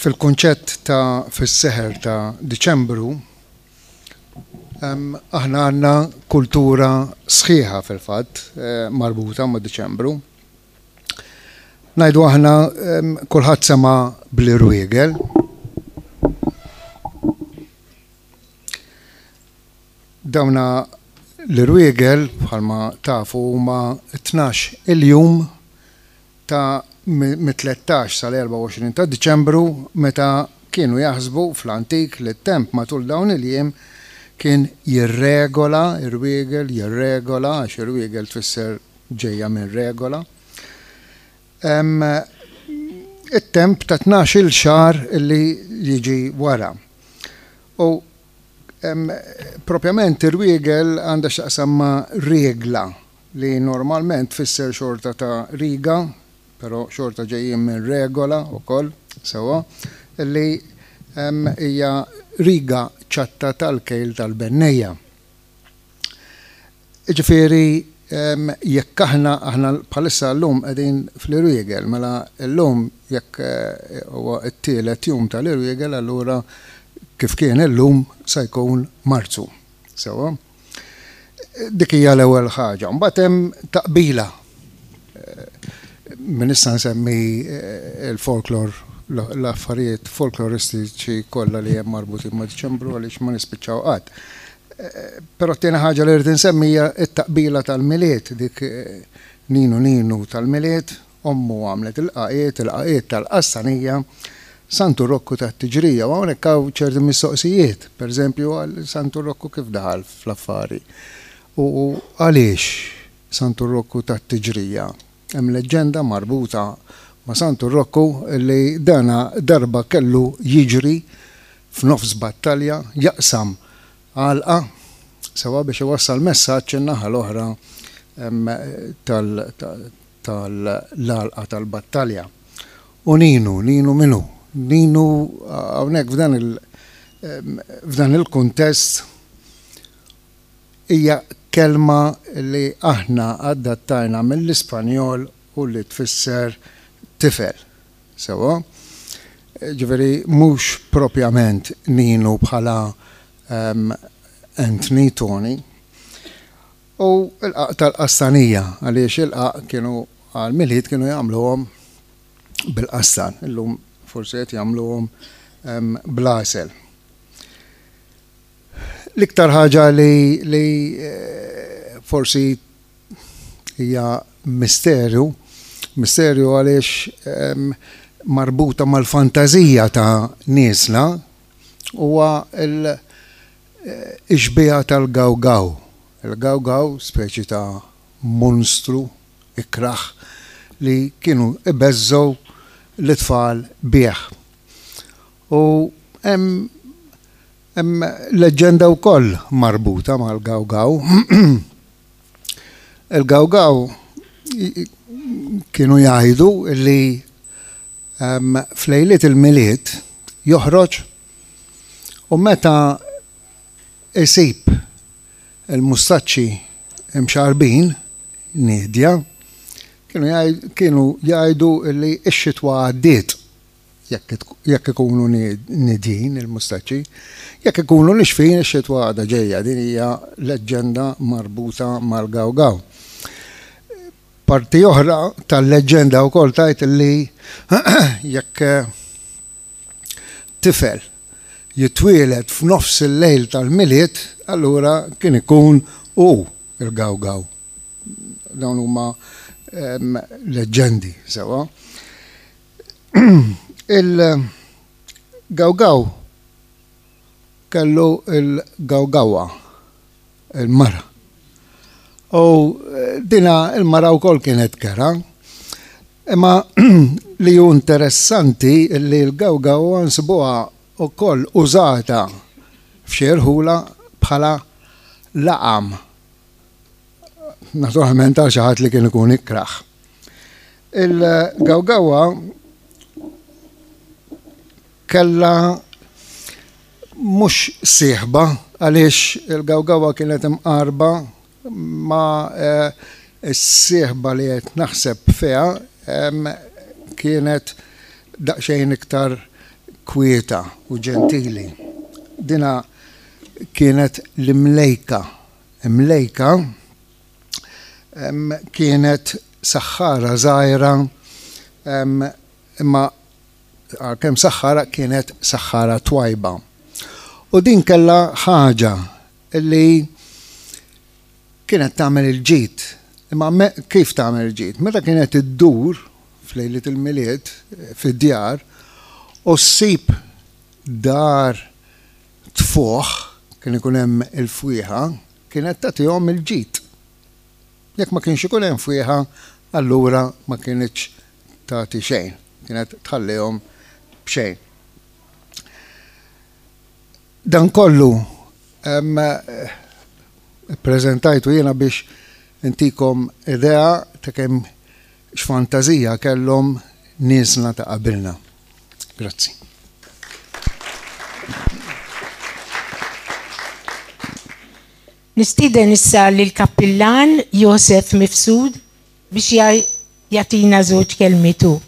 Fil-kunċett ta' fis-seħer ta' Diċembru, aħna għandna kultura sħiħa fil-fatt marbuta ma' Diċembru. Ngħidu aħna kulħadd sema' bl-irwiegel. Dawna l-irwiegel bħalma tafu huma 12 il-jum ta' mit-13 sal-24 ta' Diċembru meta kienu jaħsbu fl-antik li t-temp matul dawn il-jiem kien jirregola, irwiegel, jirregola, għax irwiegel tfisser ġejja minn regola, it-temp ta' 12-il xahar li jiġi wara. U propjament irwiegel għandha x'taqsam ma' regla li normalment tfisser xorta ta' riga, però xorta ġejjin minn regola wkoll, sewwa, li hija riga ċatta tal-kejl tal-bennejja. Jiġifieri jekk aħna, aħna bħalissa llum qegħdin fl-Irwiegel, mela llum jekk huwa t-tielet jum tal-Irwiegel allura kif kien illum se jkun Marzu. Sewwa? Dik hija l-ewwel ħaġa. Mbagħad hemm taqbila. Min issa nsemmi l-folklor, l-affarijiet folkloristiċi kollha li hemm marbutin ma' Diċembru għaliex ma nispiċċaw qatt. Però t-tieni ħaġa li rrid insemmi hija t-taqbila tal-Milied, dik Ninu Ninu tal-Milied, ommu għamlet il-qaqiet, il-qaqiet tal-qassanija, Santu Rokku tat-tiġrija. U hawnhekk hawn ċerti mistoqsijiet, pereżempju għal Santu Rokku kif daħal fl-affari u għaliex Santu Rokku tat-tiġrija. Hemm leġġenda marbuta ma' Santu Rokku li dana darba kellu jiġri f'nofs battalja jaqsam għalqa sewwa biex iwassal messaġġ in-naħa l-oħra tal-għalqa tal-battalja. U Ninu, Ninu min hu? Ninu hawnhekk f'dan il f'dan il-kuntest hija kelma li aħna adattajna mill-Ispanjol u li tfisser tifel. Sewwa? Ġifieri mhux propjament Ninu bħala Anthony, Tony. U l-qagħaq tal-qastanija, għaliex il-qagħaq kienu għall-Milied kienu jagħmluhom bil-qastan, illum forsi qed jagħmluhom bl-għasel. L-iktar ħaġa li, li forsi hija misteru, misterju għaliex marbuta mal-fantażija ta' niesna huwa l-xbieha tal-gawgaw. Il-gawgaw, speċi ta' monstru ikrah li kienu ibeżżgħu lit-tfal bih. U hemm hemm leġġenda wkoll marbuta mal-gawgaw. Il-gawgaw kienu jgħidu li f'lejliet il-Milied joħroġ u meta isib il-mustaċċi imxarrbin, niedja, kienu jgħidu li x-xitwa għaddiet. Jekk ikunu nidjin il-mustaċċi, jekk ikunu nixfin ix-xitwa għadha ġejja. Din hija leġġenda marbuta mal-gawgaw. Parti oħra tal-leġġenda wkoll tgħid li jekk tifel jitwieled f'nofs il-lejl tal-Milied, allura kien ikun hu l-gawgaw. Dawn huma leġġendi sewwa. Il-Gawgaw kellu l-Gawgawa, il-mara. U dina il-mara wkoll kienet kera. Imma li hu interessanti li l-Gawgawa nsibuha wkoll użata f'xi rħula bħala laqam. Naturalment għal xi ħadd li kien ikun ikrah. Il-Gawgawa kellha mhux sieħba għaliex il-Gawgawa kienet imqarba ma' eh, s-sieħba li qed naħseb fiha kienet daqsxejn iktar kwieta u ġentili. Dina kienet l-imlejka. Imlejka kienet saħħara żgħira imma għalkemm saħħara kienet saħħara twajba. U din kellha ħaġa li kienet tagħmel il-ġid. Imma kif tagħmel il-ġid? Meta kienet iddur f'lejliet il-Milied fid-djar u ssib dar tfuħ, kien ikun hemm il-fwieħa, kienet tagħtihom il-ġid. Jekk ma kienx ikun hemm fwieħa, allura ma kinitx tagħti xejn, kienet tħallihom b'xejn. Dan kollu ippreżentajtu jiena biex intikom idea ta' kemm x'fantażija kellhom niesna ta' qabilna. Grazzi. Nistieden issa lill-Kappillan Josef Mifsud biex jagħtina żewġ kelmiet hu.